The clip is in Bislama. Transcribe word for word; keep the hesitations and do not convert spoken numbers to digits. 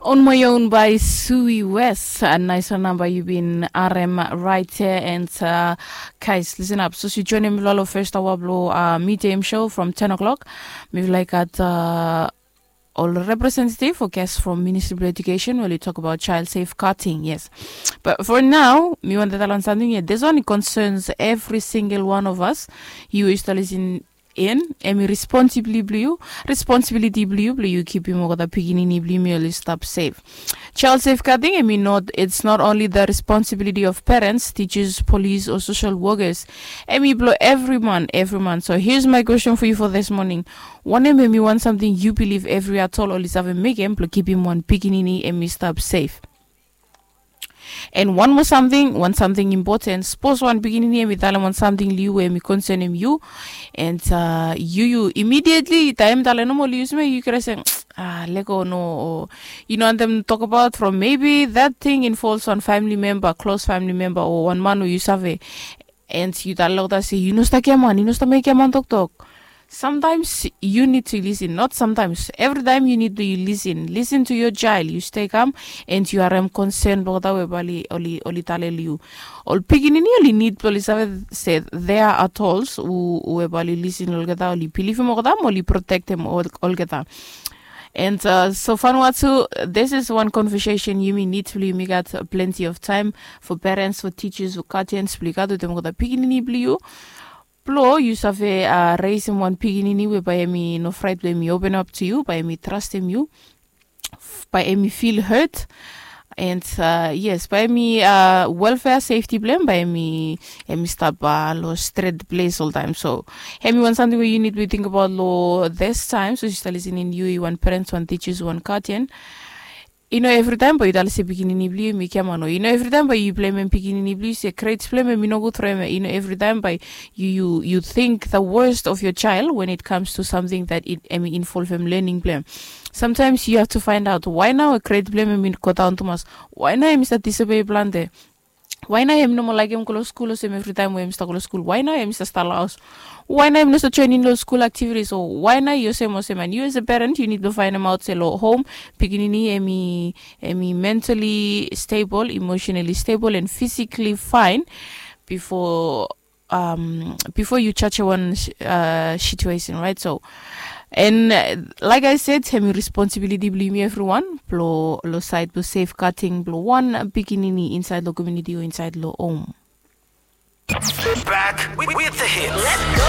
On my own by Sui West. A nais wan namba yu bin arem right here and uh, guys, listen up. So si joinim lo lo first hour blo uh, medium show from ten o'clock. Mi like at uh, ol representative o guest from Ministry of Education we oli tok about child safeguarding, yes. But for now, mi wanta talem samting ia. This one concerns every single one of us. Yu yu stalisin in, hemi responsibility blo yu, responsibility blo yu blo yu kipim olgeta pikinini blo yumi oli stap safe. Child safeguarding, hemi not, it's not only the responsibility of parents, teachers, police or social workers. Hemi blo every man, every man. So here's my question for you for this morning. Wanem hemi wan samting yu bilif evri atol oli save mekem blo kipim wan pikinini hemi stap safe? And wan moa samting, wan samting impoten, sapos wan pikinini hemi talem wan samting lo yu we hemi konsenem yu, and uh, yu yu immediately taem talem nomo lo yu sime yu kere se, ah, lego no, o yu no wantem tok about from maybe that thing involves wan family member, close family member o wan man we yu save. And yu talem olgeta se yu no stap giaman, yu no stap mekem giaman toktok. Sometimes you need to listen, not sometimes, every time you need to listen. Listen to your child, yu stay calm and yu harem konsen blo olgeta we bae oli, oli, oli talem lo yu. Ol pikinini oli nid blo oli save se they are adults we bae oli listen lo olgeta, oli bilivim olgeta mo oli protektem olgeta. And uh, so Vanuatu, this is one conversation yumi nid blo yumi gat plenty of time for parents, for teachers, for guardians blo yu gat wetem olgeta pikinini blo yu. Blo yu save uh, reisim wan pikinini we bae hemi no fraet blo hemi open up to yu, bae hemi trastem yu, bae hemi feel hurt. And uh, yes, bae hemi uh, welfare, safety blo hem bae hemi, hemi stap uh, lo stret ples oltaem. So hemi wan samting we yu nid blo yu tingbaot lo this time. So yu stap lisinim, yu wan parents, wan teachers, wan guardian. Yu no evri taem bae yu talem se pikinini blo yu hemi giaman, o yu no evri taem bae yu blemem pikinini blo yu se grades blo hem hemi nogud from hem. Yu no evri taem bae yu, yu, yu think the worst of your child when it comes to something that it hemi involvem learning blo hem. Sometimes you have to find out why nao grade blo hem hemi go daon tumas. Why nao hemi stap disobey plante? Why nao hemi no moa laekem go lo skul olsem evri taem we hemi stap go lo skul? Why nao hemi stap stap lo haos? Why nao hemi no stap joenem lo skul activities? O why nao yu olsem olsem? And yu as a parent yu nid blo faenemaot se lo home pikinini hemi, hemi mentally stable, emotionally stable and physically fine before um, before yu judge wan uh, situation, right? So, and uh, like I said, hemi responsibility blo yumi evriwan blo lo saed blo safeguarding blo wan pikinini insaed lo community o insaed lo home. Back with, with the hits.